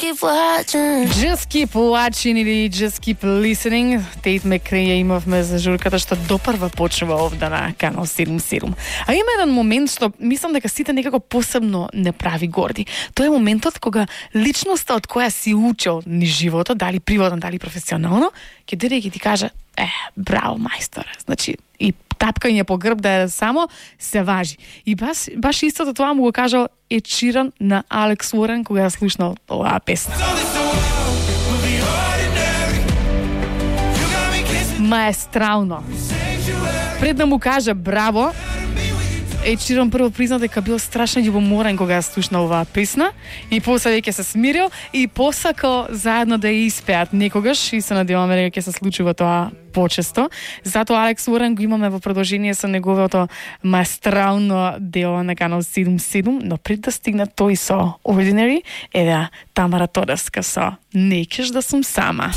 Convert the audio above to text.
keep watching. Just keep watching или just keep listening. Тейт Мекреј ја имавме за журката што допрва почнува овде на канал 77. А има еден момент што мислам дека сите некако посебно не прави горди. Тоа е моментот кога личноста од која си учел низ животот, дали приватно, дали професионално, ќе дојде и ќе ти каже: браво мајсторе. Значи и тапкање по грб да е само се важи. И баш истото тоа му го кажал Ед Ширан на Алекс Уорен кога ја слушнал оваа песна. Маестрално. Пред да му каже браво, Ед Ширан прво призна дека бил страшно љубоморен кога ја слушнал оваа песна и после веќе се смирил и посакал заедно да ја испеат некогаш и се надеваме дека ќе се случува тоа почесто. Затоа Алекс Уорен го имаме во продолжение со неговото маестрално дело на канал 77, но пред да стигне тој со Ordinary, Тамара Тодевска со Не кеш да сум сама.